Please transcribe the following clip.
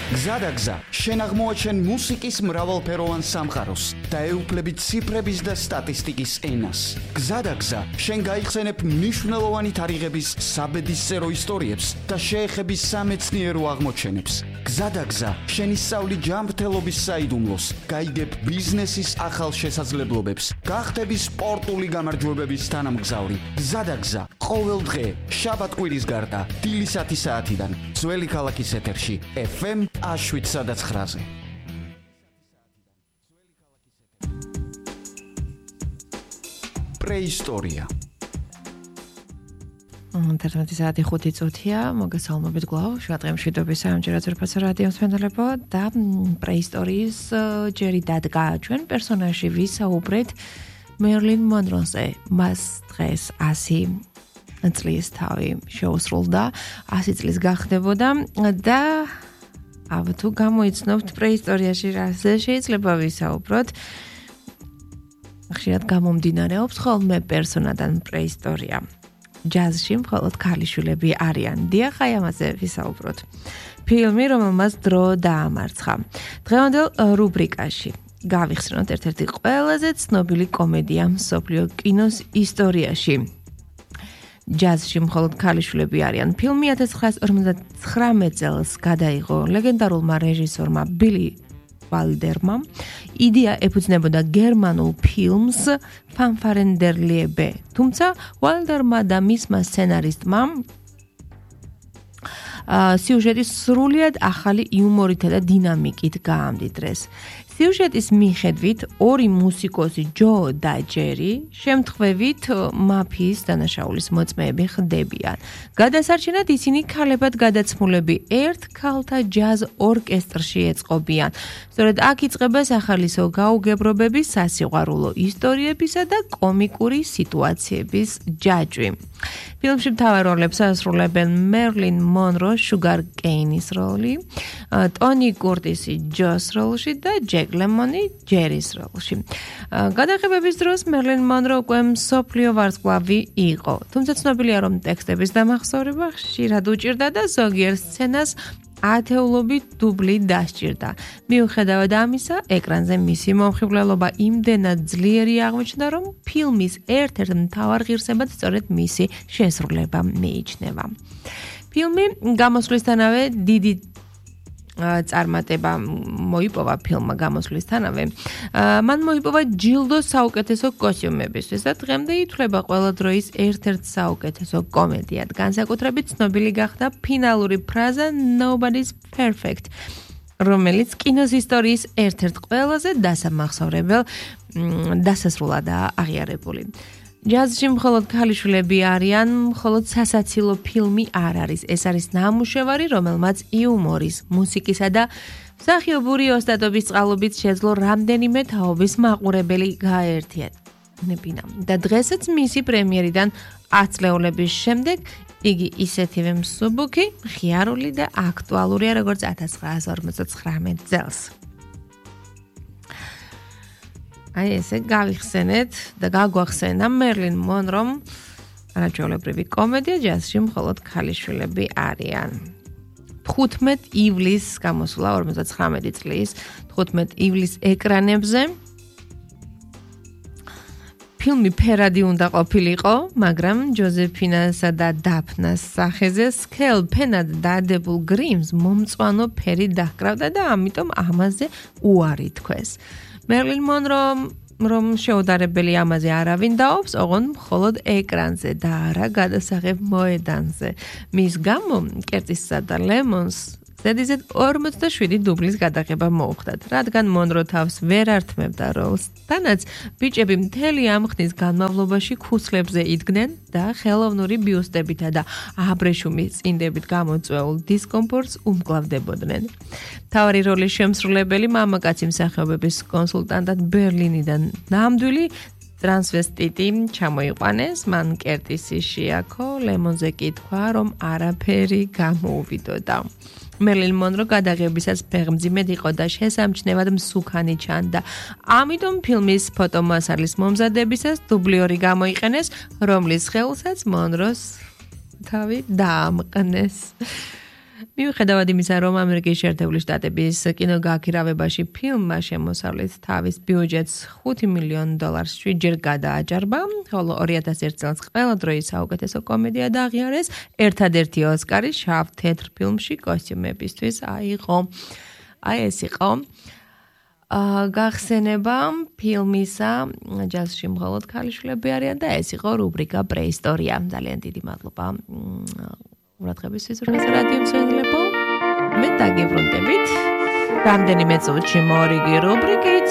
გზადაგზა, შენ აღმოაჩენ მუსიკის მრავალფეროვან სამყაროს და ეუფლები ციფრების და სტატისტიკის ენას. გზადაგზა, შენ გაიხსენებ მნიშვნელოვანი თარიღების საბედისწერო ისტორიებს და შეეხები სამეცნიერო აღმოჩენებს. გზადაგზა, შენ ისწავლი ჯანმრთელობის საიდუმლოს, გაიგებ ბიზნესის ახალ შესაძლებლობებს, გახდები სპორტული გამარჯვებების თანამგზავრი. გზადაგზა, ყოველ დღე, შაბათ-კვირის გარდა, დილის 10 საათიდან, ძველი ქალაქის ეთერში, FM 7-9-ზე. პრეისტორია. 11 საათი 5 წუთია, მოგესალმებით გლავ, შევატყე მშვიდობის ამჯერად ზურფასო რადიოს მენდელებო და პრეისტორიის ჯერი დადგა ჩვენ პერსონაჟი ვისაუბრეთ მერლინ მონროზე. მას დღეს 100 წლის თავი შეუსრულდა, 100 წლის გახდებოდა და თუ გამოიცნობთ პრეისტორიაში რაზე შეიძლება ვისაუბროთ. ხშირად გამომდინარეობს ხოლმე პერსონადან პრეისტორია. ჯაზში მხოლოდ ქალიშვილები არიან. დიახ, აი ამაზე ვისაუბროთ. ფილმი, რომელმაც დრო დაამარცხა. დღევანდელ რუბრიკაში გავიხსენოთ ერთ-ერთი ყველაზე ცნობილი კომედია მსოფლიო კინოს ისტორიაში. ჯაზში მხოლოდ ქალიშვილები არიან. ფილმი 1959 წელს გადაიღო ლეგენდარულმა რეჟისორმა ბილი ვალდერმა. იდეა ეფუძნებოდა გერმანულ ფილმს ფანფარენდერლიებე. თუმცა ვალდერმა და მისმა სცენარისტმა სიუჟეტი სრულიად ახალი იუმორითა და დინამიკით გაამდიდრეს. სიუჟეტის მიხედვით ორი მუსიკოსი ჯო და ჯერი შემთხვევით მაფიის დანაშაულის მოწმეები ხდებიან. გადასარჩენად ისინი ქალებად გადაცმულები ერთ ქალთა ჯაზ ორკესტრში ეწყობიან. სწორედ აქ იწყება სახალისო გაუგებრობების, სასიყვარულო ისტორიებისა და კომიკური სიტუაციების ჯაჭვი. ფილმში მთავარ როლებს ასრულებენ მერლინ მონრო შუგარ კეინის როლი, ტონი კურტისი ჯოს როლში და ჯეკ ლემონი ჯერის როლში. გადაღებების დროს მერლინ მონრო უკვე მსოფლიო ვარსკვლავი იყო. თუმცა ცნობილია, რომ ტექსტების დამახსოვრება ხშირად უჭირდა და ზოგიერთ სცენას ათეულობით დუბლი დასჭირდა. მიუხედავად ამისა, ეკრანზე მისი მომხიბვლელობა იმდენად ძლიერი აღმოჩნდა, რომ ფილმის ერთ-ერთ მთავარ ღირსებად სწორედ მისი შესრულება მიიჩნევა. ფილმი გამოსვლისთანავე დიდი წარმატება მოიპოვა ფილმმა გამოსვლისთანავე. მან მოიპოვა ჯილდო საუკეთესო კოსტიუმებისთვის და დღემდე ითვლება ყველა დროის ერთ-ერთ საუკეთესო კომედიად. განსაკუთრებით ცნობილი გახდა ფინალური ფრაზა Nobody's perfect, რომელიც კინოს ისტორიის ერთ-ერთ ყველაზე დასამახსოვრებელ დასასრულადაა აღიარებული. ჯაზში მხოლოდ ქალიშვილები არიან, მხოლოდ სასაცილო ფილმი არ არის. ეს არის ნამუშევარი, რომელმაც იუმორის, მუსიკისა და მსახიობური ოსტატობის წყალობით შეძლო რამდენიმე თაობის მაყურებელი გააერთიანებინა. და დღესაც მისი პრემიერიდან 10 წლეულების შემდეგ იგი ისეთივე მსუბუქი, ღიარული და აქტუალურია, როგორც 1959 წელს. აი ესე გავიხსენეთ და გაგვახსენა მერლინ მონრომ არაჩვეულებრივი კომედია ჯაზში მხოლოდ ქალიშვილები არიან. 15 ივლისს გამოსულა 59 წლის 15 ივლისს ეკრანებზე. ფილმი ფერადი უნდა ყოფილიყო, მაგრამ ჯოზეფინასა და დაფნას სახეზე სქელ ფენად დადებულ გრიმს მომწვანო ფერი დაჰკრავდა და ამიტომ ამაზე უარი თქვეს. მერლინ მონრო რომ შეუდარებელი ამაზე არავინ დაობს, ოღონდ მხოლოდ ეკრანზე და არა გადასაღებ მოედანზე. მის გამო კერტისსა და ლემონს ზედიზედ 47 დუბლის გადაღება მოუხდათ, რადგან მონრო თავს ვერ ართმევდა როლს. თანაც ბიჭები მთელი ამ ხნის განმავლობაში ქუსლებზე იდგნენ და ხელოვნური ბიუსტებითა და აბრეშუმის წინდებით გამოწვეულ დისკომფორტს უმკლავდებოდნენ. მთავარი როლის შემსრულებელი მამაკაცი მსახიობების კონსულტანტად ბერლინიდან ნამდვილი ტრანსვესტიტი ჩამოიყვანეს. მან კერტისი შეაქო, ლემონზე კი თქვა, რომ არაფერი გამოუვიდოდა. მერლინ მონრო გადაღებისას ფეხმძიმედ იყო და შესამჩნევად მსუქანი ჩანდა. ამიტომ ფილმის ფოტომასალის მომზადებისას დუბლიორი გამოიყენეს, რომლის ხელსაც მონროს თავი დაამყნეს. მიუხედავად იმისა, რომ ამერიკის შეერთებული შტატების კინოგაქირავებაში ფილმმა შემოსავლით თავის ბიუჯეტს $5 მილიონ 7-ჯერ გადააჭარბა, ხოლო 2001 წელს ყველა დროის საუკეთესო კომედია დააღიარეს, ერთადერთი ოსკარი შავ თეთრ ფილმში კოსტიუმებისთვის აიღო. აი ეს იყო გახსენება ფილმისა ჯაზში მხოლოდ ქალიშვილები არიან და ეს იყო რუბრიკა პრეისტორია. ძალიან დიდი მადლობა ყურადღებისთვის რადიო მსმენელებო. მე დაგიბრუნდებით. რამდენიმე წუთში მორიგი რუბრიკით